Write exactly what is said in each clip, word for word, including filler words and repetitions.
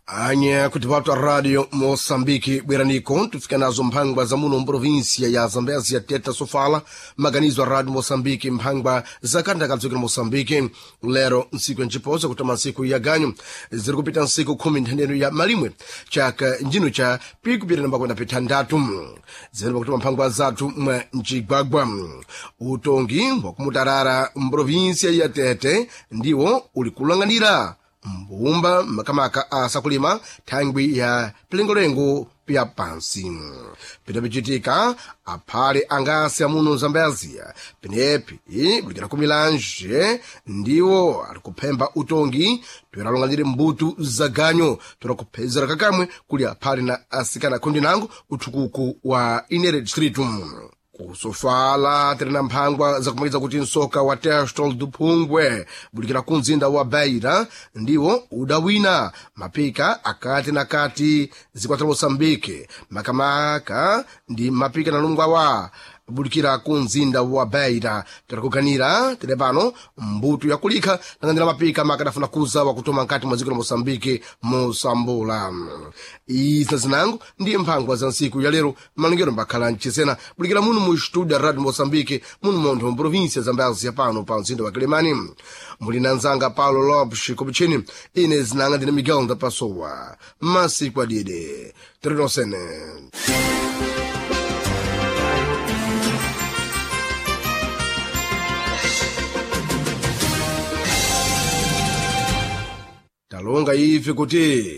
Anya kuti vatu radio Moçambique bweraniko tufika nazo mphangwa za muno mprovinsia ya Zambezia teta sofala maganizo a radio Moçambique mphangwa za kanda kadzukira Moçambique lero ntsiku ya ncipoza kutama ntsiku ya ganyu ziri kupita ntsiku khumi nthendeno ya malimwe chaka njino cha pikupita namba kwenda pithandatu zimene pakutuma mphangwa zathu mwa mcigwagwa utongi wakumutarara mprovinsia ya Tete ndiwo uli kulang'anira mbumba makamaka asakulima thangwi ya pilengolengo pya pansi pitapichitika aphale angasi amuno Zambezia penepi bulikira kumilanje ndiwo ali kuphemba utongi toyera mbutu za ganyo toyera kuphezera kakamwe kuli aphale na asikana khundi nango uthukuku wa inere distritu kusofala tiri na mphangwa zakumakiza kuti msoka wa Testol do Phungwe bulikira ku mzinda wa Beira ndiwo udawina mapika akati na kati zikwatira Moçambique makamaka ndi mapika na lungwa wa bulikira ku mzinda wa Beira tiri tiri pano mbuto yakulikha nang'anira mapika makadafuna kuza wakutoma nkati mwa dziko la Moçambique mosambula izi zinango ndi mphangwa za ntsiku ya lero malengero mbakhala mchisena bulikira muno mu studio radio Moçambique muno montho mprovinsia Zambezia pano pa mzinda wa Quelimane muli na nzanga Paulo Lopes Kopichini ine zinanga ndine Miguel Ndapasowa masiku adide tirinosene talonga ife kuti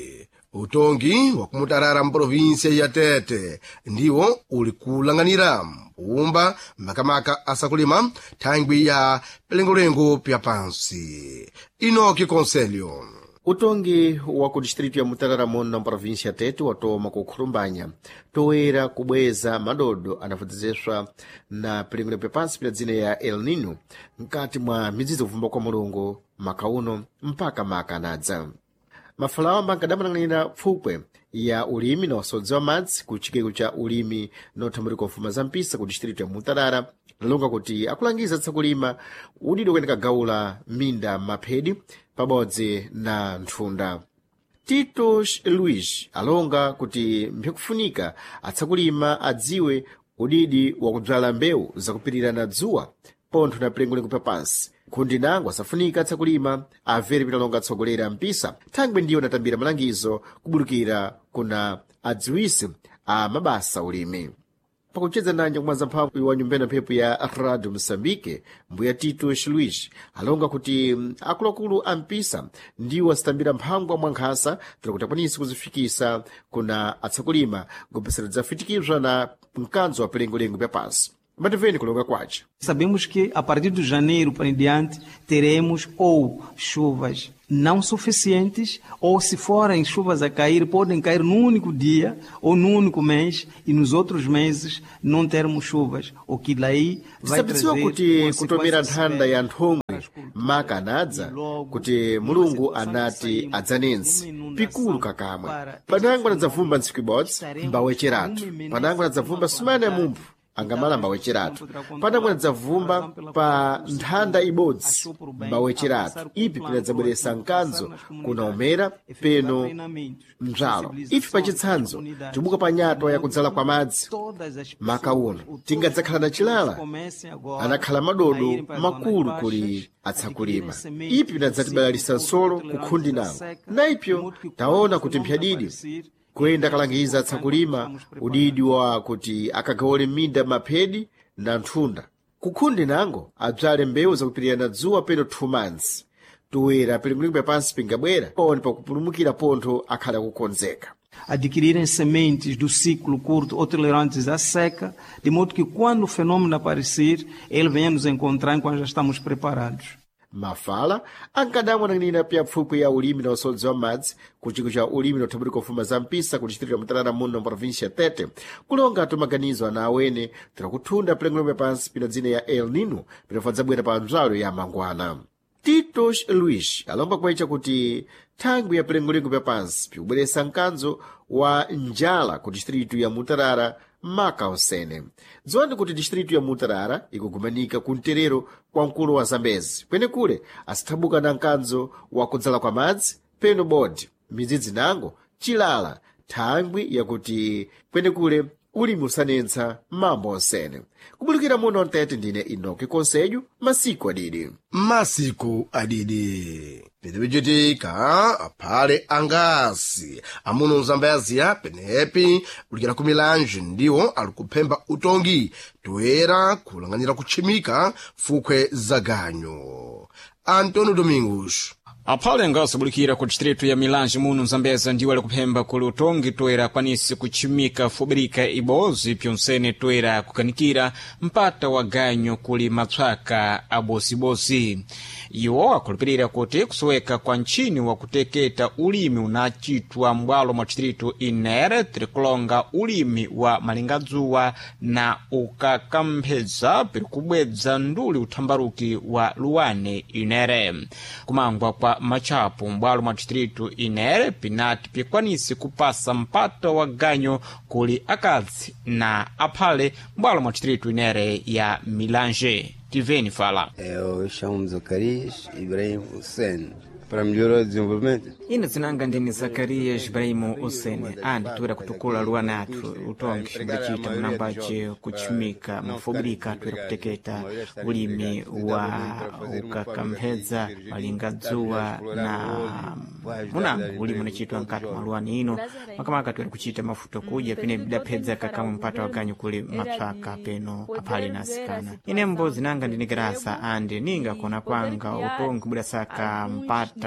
utongi wakumutarara mprovinsia ya Tete ndiwo uli kulang'anira mbumba makamaka asakulima thangwi ya pilengolengo pya pansi inoki conselho Utongi wa ku distrito ya Mutarara muno na província Tete watoma kukhulumbanya toera kubweza madodo anavudzeswa na pilingulo pyapansi pya dzina ya El Nino mkati mwa midzidzo kuvumba kwa mulungu maka uno mpaka maka anadza mafalawo ambankadamanang'anira pfupwe ya ulimi na usodzi wa madzi ku chikeko cha ulimi nothamulika mfuma za mpisa ku distrito ya Mutarara lalonga kuti akulangiza tsakulima udidi kuyeneka gaula minda maphedi pabodzi na nthunda Tito Luis alonga kuti mphikufunika atsakulima adziwe udidi wakudzala mbewu zakupirira na dzuwa pontho na pilengolengo papansi nkhundi nango asafunika atsakulima amvere pitalonga atsogolera mpisa thangwi ndiyo natambira malangizo kubulukira kuna adziwisi a mabasa ulimi pakucheza nanje kumwaza mphamvu wa nyumbena mphepo ya radio moçambique mbuya Tito Luis alonga kuti akuluakulu a mpisa ndiwo asitambira mphangwa mwa nkhasa tira kuti akwanise kuzifikisa kuna atsakulima ngopesera dzafitikizwa na mkanzo wa pilengolengo pya pansi Mativeni kulonga kwace. Sabemos que a partir de janeiro para em diante teremos ou chuvas não suficientes, ou se forem chuvas a cair, podem cair num único dia ou num único mês e nos outros meses não termos chuvas, o que daí vai Tisabidziwa trazer kuti kutomera consequências nthanda ya severas nthomwe para as culturas. maka anadza E logo, kuti numa mulungu situação que anati saímos adzanenzi numa pikulu inundação kakamwe para este panango anadzavumba ntsiku ibodzi estaremos mbawecheratu numa imensa panango anadzavumba sumana ya mumphu angamala mbawecheratu panango anadzavumba pa nthanda ibodzi mbawecheratu ipi pinadzabweresa mkanzo kunaomera peno mdzalo ife pachitsanzo tibuka pa nyatwa yakudzala kwa madzi maka uno tingadzakhala na chilala anakhala madodo makulu kuli atsakulima ipi pinadzatibalalisa nsolo kukhundi nawo na ipyo taona kuti mphyadidi kuyenda kalangiza atsakulima udidi wa kuti akagawole minda maphedi na nthunda kukhundi nango adzale mbewu zakupirira na dzuwa peno two months toera pilingulingu pansi pingabwera pone pakupulumukira pontho akhala kukonzeka adquirirem sementes do ciclo curto ou tolerantes à seca, de modo que quando o fenômeno aparecer, ele venha nos encontrar enquanto já estamos preparados. Mafala ankadamwa nan'ina pya pfupwi ya ulimi na usodzi wa madzi ku chiko cha ulimi na uthamulika mfuma za mpisa ku distrito ya Mutarara muno província ya Tete kulonga tumaganizo ana awene tirakuthunda pilengolembe pansi pina dzina ya El Nino pinafadzabwera pa mdzalo ya mangwana Titos Luis alomba kuecha kuti thangwi ya pilengolengo pya pansi pikubweresa mkanzo wa njala ku distrito ya Mutarara maka osene dziwani kuti distrito ya Mutarara ikugumanika ku mterero kwa mkulo wa Zambezi kwenekule asithabuka na mkanzo wa kudzala kwa madzi peno bodi Midzidzi nango chilala thangwi yakuti kwenekule ulimi usanentsa mambo onsene. Kubulukira muno mtete ndine Inoki Konselho, masiku adidi. Masiku adidi pilipichitika aphale angasi amuno mzambayaziya penepi kulikira ku milanji ndiwo ali kuphemba utongi toyera kulang'anira kutchimika fukhwe za ganyo. Antonio Domingos. Aphale ngasobulikira ku distritu ya Milange muno Mzambeza ndiwo ali kuphemba kuli utongi toera akwanise kutchimika fubirika ibozi pyonsene toera kukanikira mpata wa ganyo kuli matswaka abosibosi. Iwo akhulupirira kuti kusoweka kwa ntchini wa kuteketa ulimi unachitwa m'bwalo mwa distritu inere tirikulonga ulimi wa malingadzuwa na ukakamphedza piri kubwedza nduli uthambaruki wa luwane inere. Kumangwa kwa machapo m'bwalo mwa distritu inere pinati pikwanise kupasa mpata wa ganyo kuli akadzi na aphale m'bwalo mwa distritu inere ya Milange. Tiveni fala. Eu chamo Zacarias Ibrahim Hussein. Para melhorar o desenvolvimento. Ine zinanga ndine Zakarias Ibrahimu Hussein andi toera kutukula luwana athu utongi mbacita munambace kutchimika mafubirika toera kuteketa ulimi wa ukakamphedza malingadzuwa na munango ulimi unachitwa mkati mwa luwani ino makamaka toera kuchita mafuta kudya pene bidaphedza kakamwe mpata wa ganyu kuli mapsaka peno aphale na asikana. Inembo zinanga ndine Grasa andi ninga kona kwanga utongi budasaka mpata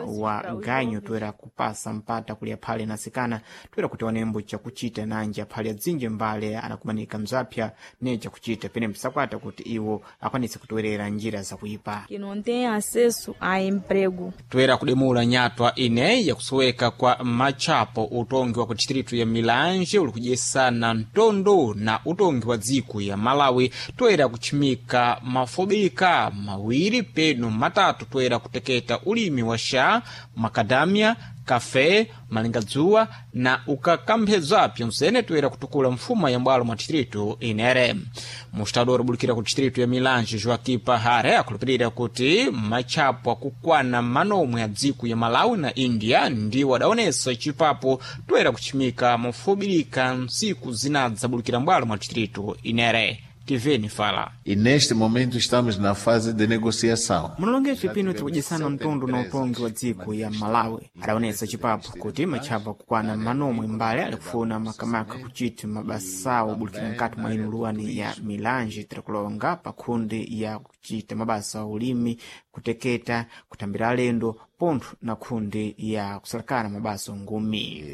wa ganyu toera kupasa mpata kuli aphale na asikana toera kuti onembo chakuchita nanji aphale adzinji mbale anakumanika mzapya ne chakuchita pene msakwata kuti iwo akwanise kutowerera njira zakuipa. Que não têm acesso a emprego. Toera kudemula nyatwa ineyi yakusoweka kwa machapo utongi wa ku distritu ya Milange uli kudyesana mtondo na utongi wa dziko ya Malawi toera kutchimika mafobika mawiri peno matatu toera kuteketa ulimi wa xa makadamia kafe malingadzuwa na ukakamphedza pyonsene toera kutukula mfuma ya mbwalo mwa distritu inere. Mustador bulikira ku distritu ya Milange Joaquim Pahare akhulupirira kuti machapo akukwana manomwe a dziko ya Malawi na India ndiwo adaonesa chipapo toera kutchimika mofubirika ntsiku zinadzabulikira mbwalo mwa distritu inere. Tiveni fala. E neste momento estamos na fase de negociação. Munolongefe pino tikudyesana mtundu na utongi wa dziko ya Malawi adaonesa chipapo kuti matchapa kukwana manomwe mbale alikufuna makamaka kuchita mabasawo obulikira mkati mwa ino luwani ya Milange tirikulonga pa khundi ya kuchita mabasa a ulimi kuteketa kutambira alendo pontho na khundi ya kusalakana mabasa ngumi.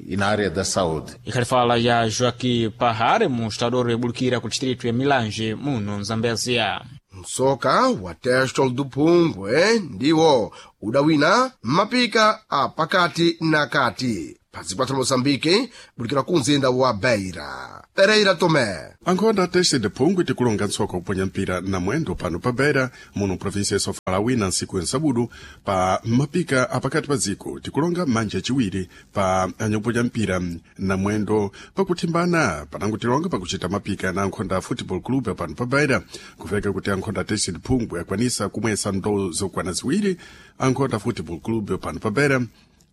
E na área da saúde. Ikhalifala ya Joaquim Pahare mustador yabulikira ku distritu ya Milange muno Mzambezia. Msoka wa Testol do Phungwe ndiwo udawina mapika a pakati na kati pazipatso la Moçambique bulikira ku mzinda wa Beira. Pereira Tomé. Ankhonda teste de phungwe tikulonga ntsoko kuponya mpira na mwendo pano pa Beira muno província ya Sofala wina ntsiku yansabudu pa mapika apakati pa dziko tikulonga manja aciwiri pa anyakuponya mpira na mwendo pakuthimbana panango tilonga pakuchita mapika na ankhonda football club pano pa Beira kuveka kuti ankhonda teste de phungwe akwanisa kumwesa ndou zokwana ziwiri ankhonda football club pano pa Beira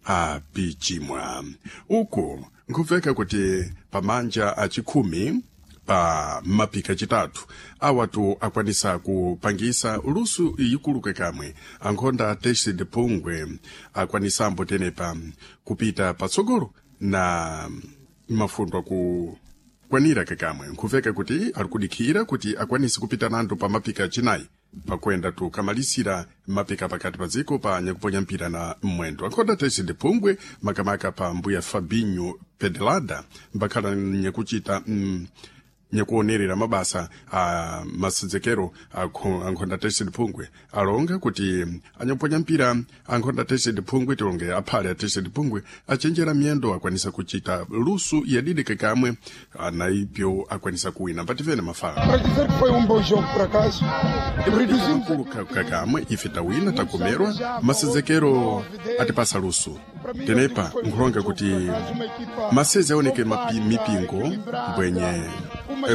apichimwa uku nkuveka kuti pamanja achikhumi pa mapika chitatu awatu akwanisa kupangisa lusu ikuluke kamwe ankhonda teste de phungwe akwanisambo tenepa kupita patsogolo na mafundo aku kwanira kakamwe nkuveka kuti ali kudikhira kuti akwanise kupita nando pa mapika achinayi pakuenda tukamalisira mapika pakati pa dziko pa nyakuponya mpira na mwendo ankhonda tese de phungwe makamaka pa mbuya Fabinho Pedelada mbakhala nyakuchita mm, nyakuonerera mabasa a masedzekero ankhonda tese de phungwe alonga kuti anyakuponya mpira ankhonda tese de phungwe tilonge aphale a tese de phungwe achenjera miyendo akwanisa kuchita lusu yadidi kakamwe naipyo akwanisa kuwina mpativene mafala Para dizer que foi um bom jogo, por acaso. Reduzimos Kulu kakamwe ife tawina takomerwa masedzekero atipasa lusu tenepa nkhulonga kuti maseze aoneke mapi, mipingo mbwenye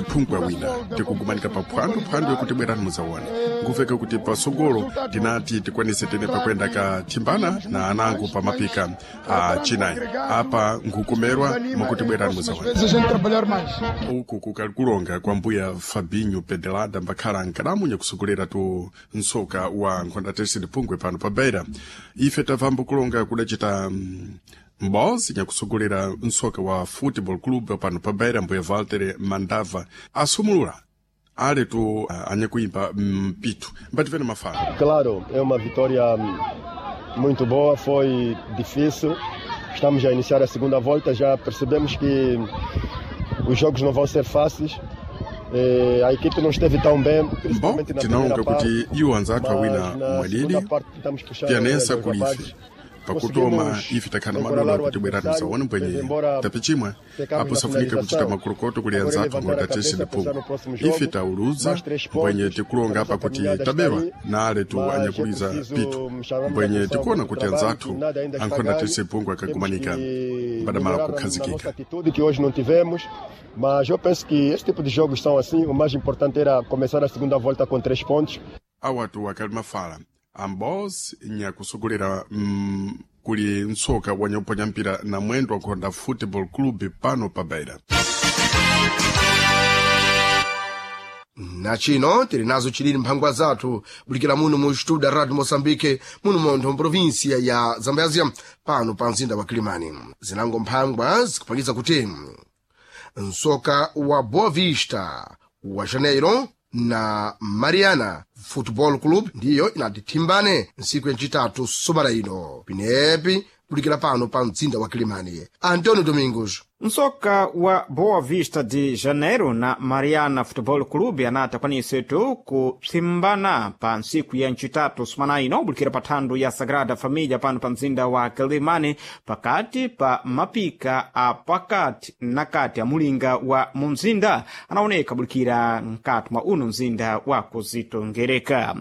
phungwe wina tikugumanika pa phwando phwando yokuti bwerani muzaone nkufeka kuti pasogolo tinati tikwanise tene pakwenda kathimbana na anango pa mapika a chinayi apa nkukomerwa mwakuti bwerani muzaone Vezes a gente trabalhar mais. uku kukali kulonga kwa mbuya Fabinho Pedelada mbakhala nkadamunya kusogolera tu nsoka wa nkhonda tese phungwe pano pa Beira ife tavambo kulonga kudacita mm, mbozi nyakusogolera nsoka wa football club pano pa Beira mbuya Walter Mandava asumulula ale tu uh, anyakuimba mpitu mbativene mafala Claro, é uma vitória hum, muito boa, foi difícil. Estamos a iniciar a segunda volta, já percebemos que os jogos não vão ser fáceis. Eh, A equipe não esteve tão bem, bom principalmente na tinonga primeira parte. kuti iwo anzathu awina Mas na mwalili segunda parte tentamos puxar pianesa os kulife rapazes. pakutoma Conseguimos ife takhala encoralar madola o kuti bwerani adversário, muzaone mas mbwenye embora tapichimwe pecamos apo na safunika kuchita finalização, makulukoto kuli agora anzathu levantar a ngondatese cabeça, pensar ndiphungu no próximo jogo, ife tauluza mais três mbwenye pontos, tikulonga a apa nossa kuti caminhada está tabewa aí, na ale tu mas é anyakuliza preciso pitu chamar mbwenye atenção tikuona para o kuti trabalho, anzathu que nada ainda está ankhondatese ganho. phungu Temos akagumanika que mbadamala melhorar na, na nossa kukhazikika atitude, que hoje não tivemos, mas eu penso que esse tipo de jogos são assim. O mais importante era começar a segunda volta com três pontos. awatu akali mafala ambos nyakusogolera mm, kuli ntsoka wanyakuponya mpira na mwendo wa nkhonda football club pano pa Beira na chino tili nazo chilili mphangwa zathu bulikira muno mu studio da radio moçambique muno montho mprovinsia ya zambézia pano pa mzinda wa kilimani zinango mphangwa zikupangiza kuti nsoka wa boa vista wa janeiro na mariana football club ndiyo inatithimbane ntsiku yacitatu somara ino pinepi bulikira pano pa mzinda wa kilimani antonio domingos Nsoka wa Boa Vista de Janeiro na Mariana Futebol Clube anata kwanisetu kupsimbana pa ntsiku ya ncitatu sumana ino bulikira pa thando ya Sagrada Família pano pa mzinda wa Quelimane pakati pa mapika a pakati na kati a mulinga wa mumzinda anaoneka bulikira mkati mwa uno mzinda wa kuzitongereka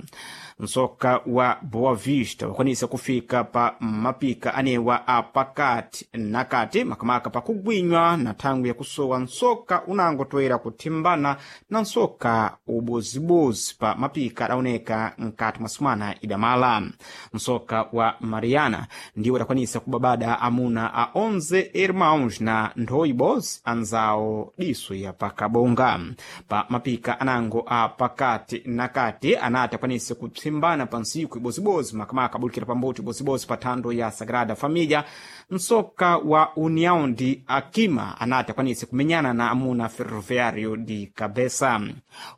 nsoka wa Boa Vista wakwanisa kufika pa mapika anewa a pakati na kati makamaka pakugwinywa na thangwi yakusowa nsoka unangotoera kuthimbana na nsoka ubozibozi pa mapika adaoneka mkati mwa sumana idamala nsoka wa Mariana ndiwo adakwanisa kubabada amuna a onze irmãos na nthowi bozi anzawo diso ya pakabonga pa mapika anango a pakati na kati anati akwanise kupsimbana pa ntsiku ibozibozi makamaka abulikira pambuto ibozibozi pa thando ya Sagrada Família nsoka wa União de Akima anati akwanise kumenyana na amuna Ferroviário de Cabeça.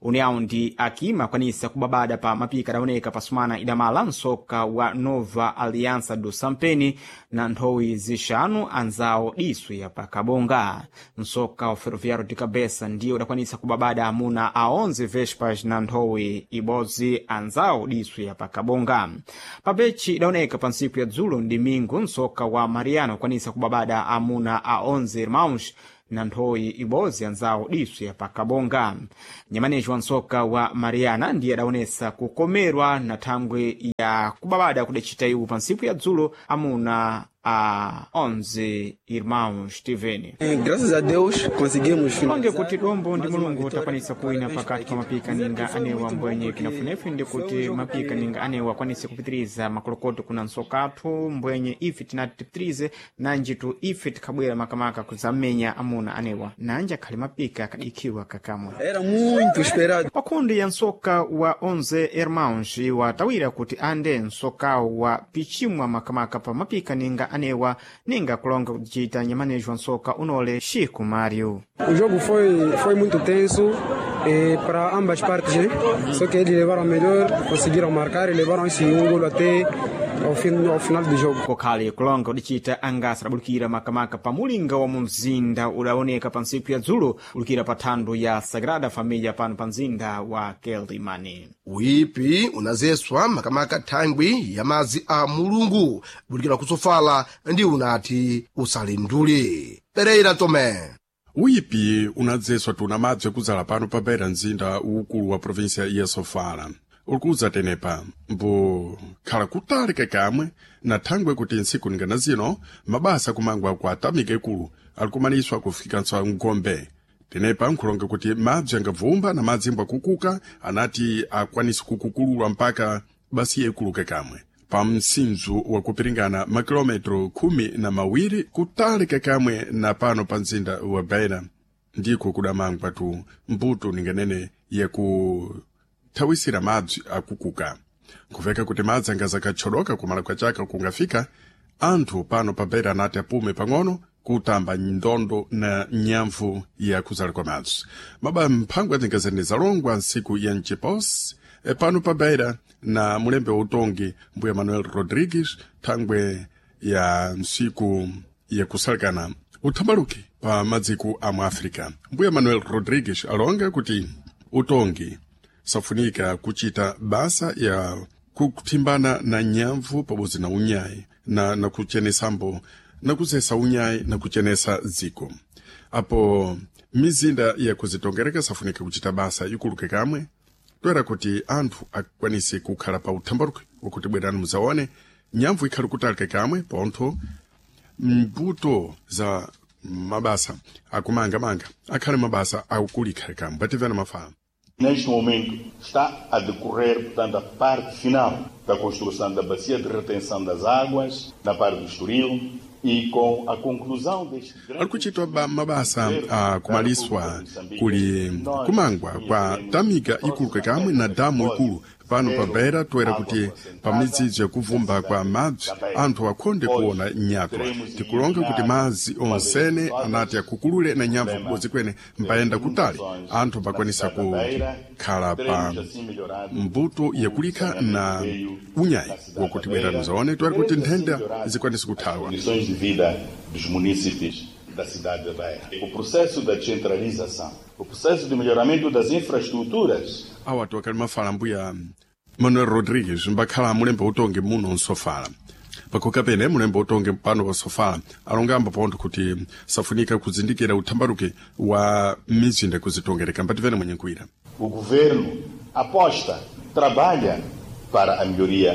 União de Akima akwanisa kubabada pa mapika adaoneka pa sumana idamala nsoka wa Nova Aliança do Sampeni na nthowi zixanu anzawo diso ya pakabonga. Nsoka wa Ferroviário de Cabeça ndiye udakwanisa kubabada amuna a onze Vespas na nthowi ibodzi anzawo diso ya pakabonga. Pabechi idaoneka pa ntsiku ya dzulo ndimingu nsoka wa Mariano akwanisa kubabada amuna a onze irmãos na nthowi ibodzi anzawo diso ya pakabonga. Nyamaneji wa nsoka wa Mariana ndiye adaonesa kukomerwa na thangwi ya kubabada kudacita iwo pa ntsiku ya dzulo amuna a onze irmãos Steven. Graças a Deus conseguimos Longe kuti dombo ndi mulungu takwanisa kuwina pakati pa mapika ninga anewa mbwenye kinafunefu ndi kuti mapika ninga anewa akwanise kupitiriza makolokoto kuna nsokathu mbwenye ife tinati tipitirize nanjitu ife tikhabwera makamaka kuzamenya amuna anewa nanji akhali mapika akadikhiwa kakamwe Era muito esperado. Pakhundi ya nsoka wa onze irmãos watawira kuti ande nsokawo wa pichimwa makamaka pa mapika ninga anewa ninga kulonga kucita nyamanejo wa nsoka unole Chico Mário. O jogo foi, foi muito tenso eh, para ambas partes, né? Só que eles levaram a melhor, conseguiram marcar e levaram esse um gol até ao, fim, ao final do jogo. Kokhale kulonga kudicita angasa adabulukira makamaka pa mulinga wa mumzinda udaoneka pa ntsiku ya dzulo ulukira pa thando ya Sagrada Família pano pa mzinda wa Quelimane. uipi unazeswa makamaka thangwi ya madzi a mulungu bulikira kusofala ndi unati usalindule pereira tomé uyipi unadzeswa tuna madzi okudzala pano pa Beira mzinda ukulu wa província ya Sofala ulikuza tenepa mbo khala kutali kakamwe na thangwe kuti ntsiku ningana zino mabasa kumangwa kwa atamika ikulu alikumaniswa kufikanso ngombe Tenepa nkhulonga kuti madzi angabvumba na madzi mbwakukuka anati akwanise kukukululwa mpaka basiya ikuluke kamwe pa msinzu wakupiringana makilometro khumi na mawiri kutalika kamwe na pano pa mzinda wa Beira ndiko kudamangwa tu mbuto ninganene yakuthawisira madzi akukuka. Nkuveka kuti madzi angazakachodoka kumala kwa chaka kungafika anthu pano pa Beira anati apume pang'ono kutamba ndondo na nyamvu ya kuzala kwa madzi. Maba mphangwa zingazene zalongwa nsiku ya mchiposi e pano pa Beira na mulembe wa utongi mbuya Manuel Rodrigues thangwe ya nsiku yakusalekana uthambaluki pa madziko a mu Africa. Mbuya Manuel Rodrigues alonga kuti utongi safunika kuchita basa ya kuthimbana na nyamvu pabodzi na unyayi na, na kuchenesambo na kuzesa unyayi na kuchenesa dziko. Apo mizinda ya kuzitongereka safunika kuchita basa ikuluke kamwe toera kuti anthu akwanise kukhala pa uthambaluki wakuti bwerani muzaone nyamvu ikhali kutalika kamwe pontho mbuto za mabasa akumangamanga akhale mabasa akulikhale kamwe pativena mafala. Neste momento está a decorrer, portanto, a parte final da construção da bacia de retenção das águas, na parte do Estoril, e com a conclusão deste grande... Ali kuchitwa mabasa akumaliswa kuli kumangwa kwa tamika ikulu kamwe na damu ikulu pano pa Beira toera kuti pa midzidzo yakuvumba kwa madzi anthu akhonde kuona nyatwa. Tikulonga kuti madzi onsene anati akukulule na nyamvu kubodzi kwene mpayenda kutali anthu pakwanisa kukhala pa mbuto yakulikha na unyayi wakuti bwera muzaone toera kuti nthenda zikwanise kuthawa. Condições de vida dos munícipes da cidade de Beira. O processo da descentralização, o processo de melhoramento das infraestruturas. Awa akali mafala mbuya Manuel Rodrigues mbakhala mulembe utongi muno nsofala. Pakoka pene mulembe utongi pano pa sofala alongamba pontho kuti safunika kuzindikira uthambaluki wa mizinda kuzitongereka mbativene mwenye nkuira. O governo aposta, trabalha para a melhoria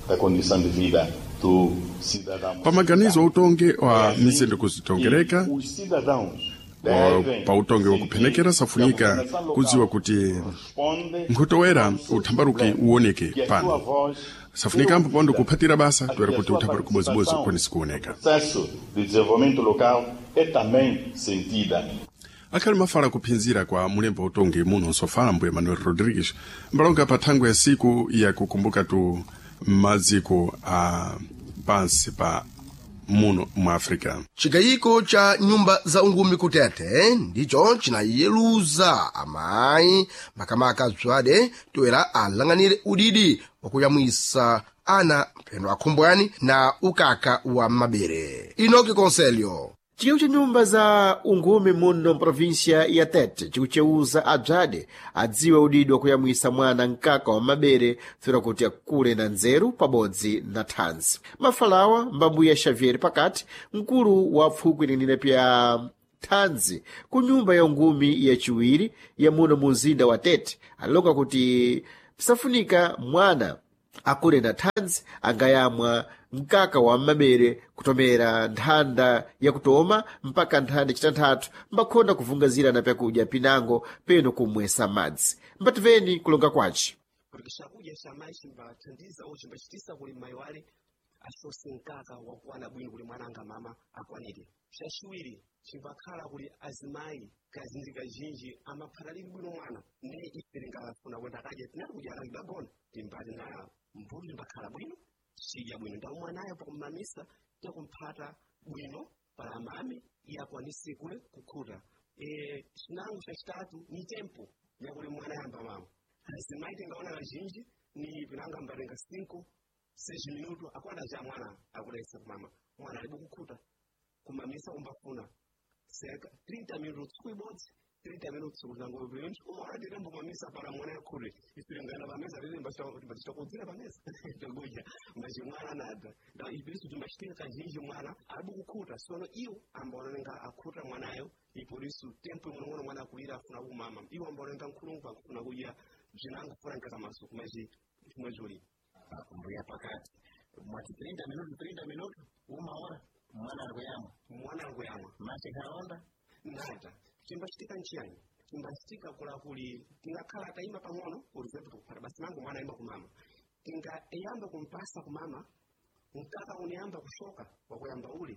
da condição de vida do cidadão. Pamaganizo utongi wa mizinda kuzitongereka Os cidadãos pa utongi wakuphenekera safunika kudziwa kuti nkhutowera uthambaluki uwoneke pano safunika ambo pondo kuphatira basa toera kuti uthambaluki bozibozi ukwanise kuoneka. Processo de desenvolvimento local é também sentida. Akhali mafala kuphinzira kwa mulembo utongi muno nsofala mbuya Manuel Rodrigues mbalonga pa thangwe ya siku yakukumbuka tu maziko a pansi pa muno mu Africa. Chigayiko cha nyumba za ungumi kutete ndicho chinayeluza amayi makamaka bzwade toera alang'anire udidi wakuyamwisa ana mphendo akhumbwani na ukaka wa mabere. Inoki Conselho. Chigawo cha nyumba za ungumi muno mprovinsia ya Tete chikuchewuza abzade adziwe udidi wakuyamwisa mwana mkaka wa mabere tsura kuti akule na nzeru pabodzi na thanzi. Mafalawa mbambuya Xavier Pakati, mkulu wa pfukwi linene pya thanzi ku nyumba ya ungumi yaciwiri ya muno mu mzinda wa Tete alilonga kuti pisafunika mwana akule na thanzi angayamwa mkaka wa mmabere kutomera nthanda yakutoma mpaka nthanda yacitanthatu mbakhonda kuvungazira na pyakudya pinango peno kumwesa madzi. Mbativeni kulonga kwace. Porque chakudya cha mayi chimbathandiza ou chimbachitisa kuli mayi wale asose mkaka wakwana bwino kuli mwana anga mama akwanire. Chachiwiri chimbakhala kuli azimayi kazinji kazhinji amaphala lili bwino mwana ne ife tingafuna kwenda kadya tinati kudya akagona timbati na mbuto timbakhala bwino chidya bwino ndawo mwanayo pakumamisa takumphata bwino pala amami iye akwanise kule kukhuta. E, chinango chachitatu ni tempo yakuli mwana yamba mama azimayi tingaona kazhinji ni pinanga mbatenga cinco seis minuto akwana ja mwana akulaisa kumama mwana alibe kukhuta kumamisa kumbafuna cerca trinta minutos tsiku ibodzi trinta minutos kutango bwinji umaona titembo mamisa para mwana yakhule isilingana pameza tete mbachitakudzira pameza takudya mbachi mwana nada nda ipilisu timbachitika kazhinji mwana alibe kukhuta sono iwo ambaonenga akhuta mwanayo ipolisu tempo ing'onong'ono mwana akulira afuna kumama iwo ambaonenga nkhulungu akufuna kudya bzinango funa nkakamaso kumachi chimwechuli mbuya pakati mwati trinta minuto trinta minuto uma hora mwana ari kuyamwa mwana ari kuyamwa mache kaonda nada Chimbachitika nchiyani? Chimbachitika kula kuli tingakhala tayima pang'ono, por exemplo, kuphata basi mangu mwana ayimba kumama, tingayamba kumpasa kumama mkaka unayamba kushoka wakuyamba uli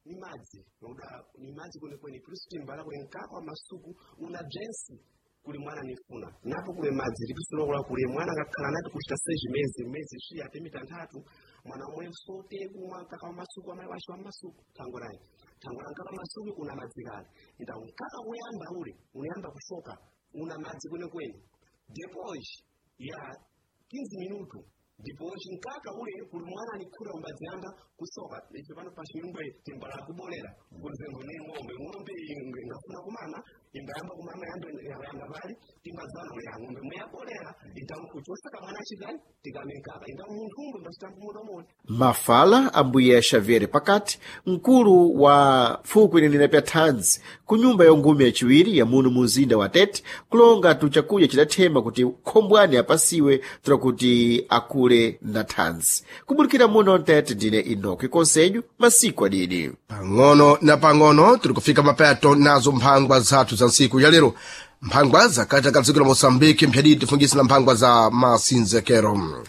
ni madzi uda ni madzi kwenikweni. Plus timbala kuli mkaka wa masuku una jensi kuli mwana nifuna napo kule madzi lipisulokula kuli mwana akakhala nati kuchita seji mezi mezi shi ate mitanthatu mwana omwe sote kumwa mkaka wa masuku amayi wace wa masuku thango layi thango la mkaka wa masuku una madzi kale inda mkaka kuyamba ule unayamba kushoka una madzi kwenikweni. Depois ya quinze minuto ndipo chinkaka ule kuli mwana anikhuta umbadziyamba kusoka. Ife pano pa chinyumba timbala kubolera kuzengo ne ng'ombe ng'ombe ingafuna kumama imbayamba kumama yambe yamba pali timbadzana ule ng'ombe muyabolera itamkuchosa kamwana chikali tikamenkaka inda munthu umwe mbachitankumudomoni. Mafala ambuye Xavier Pakati, mkulu wa fuko inenera pya thanzi ku nyumba ya ngumi yaciwiri ya muno mu mzinda wa Tete, kulonga tu chakudya cidathema kuti khombwani apasiwe tura kuti akule na thanzi. Kubulikira muno Tete, ndine Inoki Konselho, masiku adidi. Pang'ono na pang'ono tiri kufika mapeto nazo mphangwa zathu za ntsiku ya lero, mphangwa zakati ka dziko la Moçambique mphyadidi tifungisa na mphangwa za masinzekero.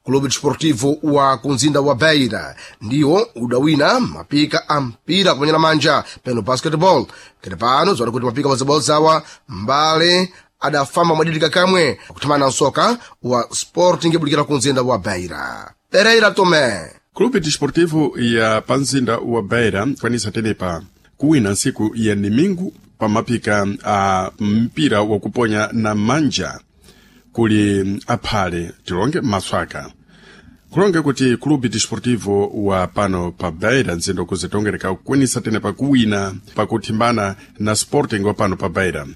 Clube Desportivo wa kumzinda wa Beira ndiwo udawina mapika a mpira kuponyera manja peno basketball. Kete pano zona kuti mapika mozabodza awa mbale adafamba mwadidika kamwe kuthamana msoka wa Sporting ibulikira ku mzinda wa Beira. Pereira Tomé. Clube Desportivo ya panzinda wa Beira kwanisa tenepa kuwina ntsiku ya nimingu pamapika a mpira wakuponya na manja kuli aphale tilonge maswaka kulonge kuti Clube Desportivo wa pano pa Beira nzindo kuzitongereka kukwanisa tenepa kuwina pakuthimbana na Sporting wa pano pa Beira.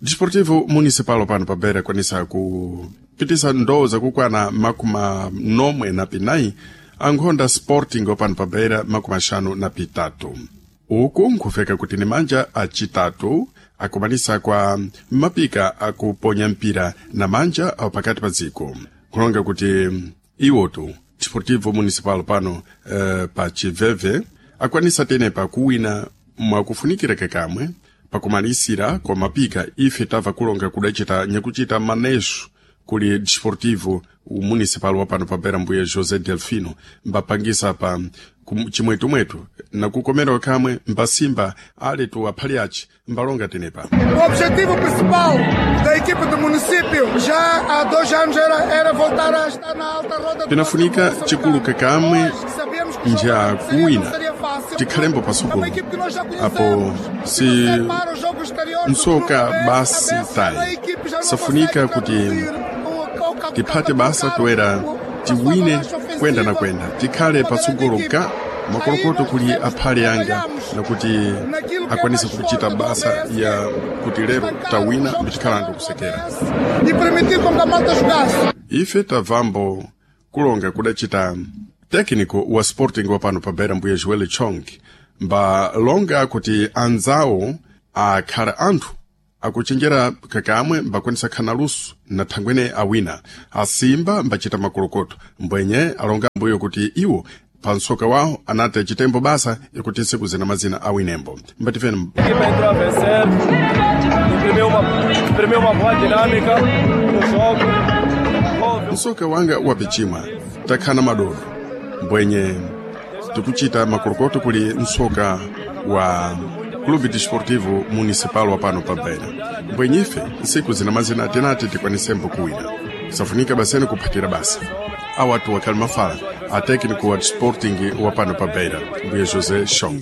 Desportivo Municipal wa pano pa Beira kwanisa kupitisa ndoo zakukwana makumi nomwe na pinayi ankhonda Sporting wa pano pa Beira makumi axanu na pitatu. Uku nkhufeka kuti ni manja acitatu akumanisa kwa mapika akuponya mpira na manja awo pakati pa dziko kulonga kuti iwotu Desportivo Municipal pano uh, pa chiveve akwanisa tenepa kuwina mwakufunikira kakamwe pakumalisira kwa mapika. Ife tamva kulonga kudacita nyakucita maneso kuli Desportivo Municipal wa pano pa Beira mbuye José Delfino mbapangisa pa chimwetumwetu nakukomera kamwe mbasimba ali tu aphali aci mbalonga tenepa. O objetivo principal da equipe do município já há dois anos era, era voltar a estar na alta roda do Pinafunika chikulu kakamwe nja kuwina tikhalembo pasukulu apo si msoka basi tayi safunika kuti tiphate basa toera tiwine kwenda na kwenda tikhale patsogolo ka makolokoto kuli aphale anga nakuti akwanise kuchita basa ya kuti lero tawina mbitikhala ndikusekera e permitir com que a malta jogasse. Ife tabvambo kulonga kudacita técnico wa Sporting wa pano pa Beira mbuye Joel Chong mbalonga kuti anzawo akhala anthu akuchenjera kakamwe mbakwanisa khana luso na thangwene awina asimba mbachita makolokoto mbwenye alonga mbuyo kuti iwo pa msoka wawo anati achitembo basa ikuti ntsiku zina mazina awinembo mbatifeni. A equipa entrou a vencer, imprimiu uma, imprimiu uma boa dinâmica no jogo. Msoka wanga wapichimwa takhana madodo mbwenye tikuchita makolokoto kuli msoka wa Clube Desportivo Municipal wa pano pa Beira mbwenye ife ntsiku zina mazina tinati tikwanisembo kuwina safunika basene kuphatira basa awatu wakhali mafala a técnico wa Sporting wa pano pa Beira mbuye José Chong.